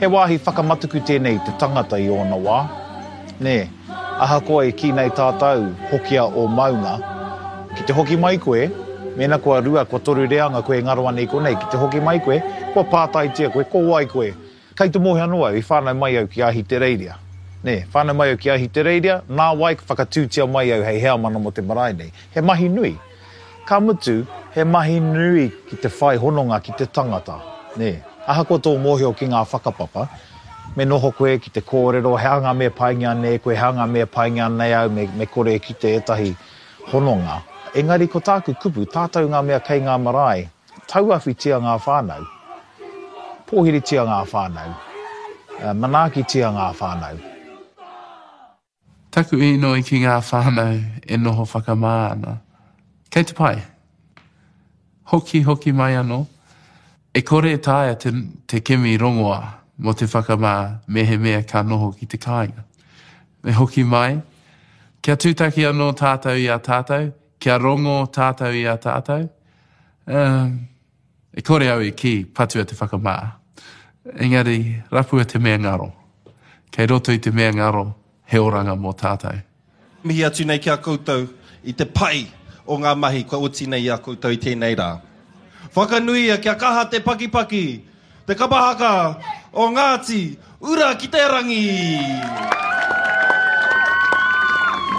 He wāhi whakamataku tēnei i te tangata i ōna wā, nē? Ahakoa e kī nei tātou, hokia ō maunga, ki te hoki mai koe, mēnā kua rua, kua toru reanga koe e ngaro ana i konei, ki te hoki mai koe, kua pātaitia koe, ko wai koe? Kei te mōhio anō au, i whānau mai au ki Ahitereiria. Nē, whānau mai au ki Ahitereiria, nāwai ka whakatūtia mai au hei heamana mō te marae nei. He mahi nui. Ka mutu, he mahi nui ki te whai hononga ki te tangata, nē. Ahakoa tō mōhio ki ngā whakapapa, me noho koe ki te kōrero he aha ngā mea paingia nei koe, he aha ngā mea paingia nei au, me, me kore e kite ētahi hononga. Engari ko tāku kupu, tātou ngā mea kei ngā marae, tauawhitia ngā whānau, pōhiritia ngā whānau, manaakitia ngā whānau. Taku inoi ki ngā whānau e noho whakamā ana. Kei te pai. Hoki, hoki mai anō. E kore e taea te, te kimi rongoā mō te whakamā mehemea ka noho ki te kāinga. Me hoki mai, kia tūtaki anō tātou i a tātou, kia rongo tātou i a tātou. Um, E kore au e kī, patua te whakamā. Engari, rapua te mea ngaro. Kei roto i te mea ngaro, he oranga mō tātou. Mihi atu nei ki a koutou i te pai o ngā mahi kua oti nei i a koutou i tēnei rā. Whakanuia kia kaha te pakipaki, te kapa haka o Ngāti Ura ki te Rangi!